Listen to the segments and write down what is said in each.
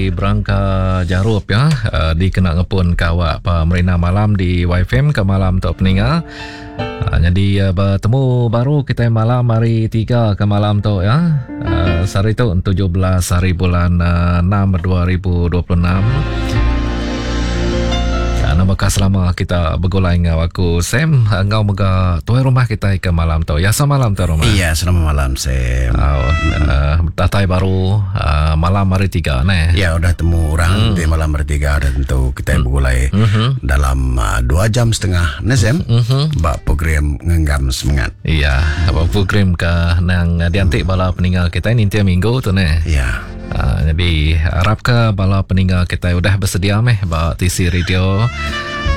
ari Berangka Jarup ya uh, dikena ngepun ke awak pemerintah malam di YFM ke malam tu peninga. Uh, jadi uh, bertemu baru kita malam hari 3 ke malam tu ya. Uh, sehari tu 17 hari bulan uh, 6 2026. Nama selama kita begulai enggau aku Sam enggau mega tuai rumah kita ke malam tu. Ya selamat malam tuai rumah. Iya, selamat malam Sam. Oh, uh, datai baru uh, malam hari tiga ne. Ya, udah temu orang hmm. di malam hari tiga dan tentu kita hmm. begulai mm-hmm. dalam uh, dua jam setengah ne Sam. Mm-hmm. Ba program ngenggam semangat. Iya, ba program ke nang diantik hmm. bala peninggal kita ninti minggu tu ne. Iya. Uh, jadi harap ke bala peninggal kita udah bersedia meh ba TC Radio.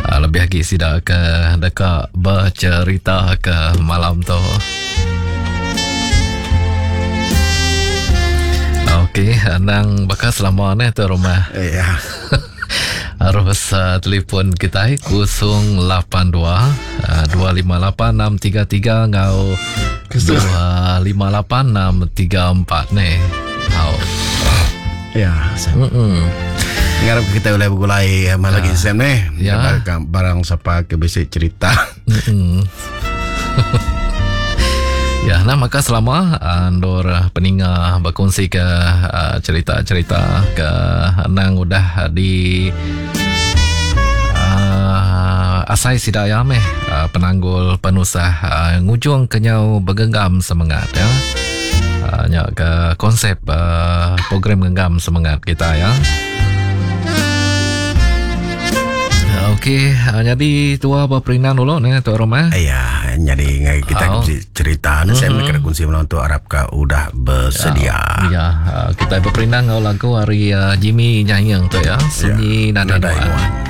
Uh, lebih lagi sida ke deka bercerita ke malam tu. Okey, nang baka selama ni tu rumah. Ya. Arus uh, telefon kita 082 uh, 258 633 ngau 258 634 ni. Au. Ya, Sam. Mm-mm. Ngarap kita boleh bergulai malam lagi Sam ni. Ya. Barang, barang siapa ke bisi cerita. Mm-mm. Ya, nah maka selama andur peninga berkongsi ke uh, cerita-cerita ke nang udah di uh, asai sida ya meh uh, penanggul penusah uh, ngujung kenyau bergenggam semangat ya. Uh, nya ke konsep uh, program genggam semangat kita ya. Okey, uh, jadi tua berperindang dulu ni tua rumah. Ya, jadi ngai kita Oh. oh. cerita ni saya mm-hmm. kongsi malam tu harap ka udah bersedia. Ya, uh, kita berperindang ngau lagu hari uh, Jimmy nyanyi tu ya. Sunyi ya. Nadai Nadai Nuan. Nuan.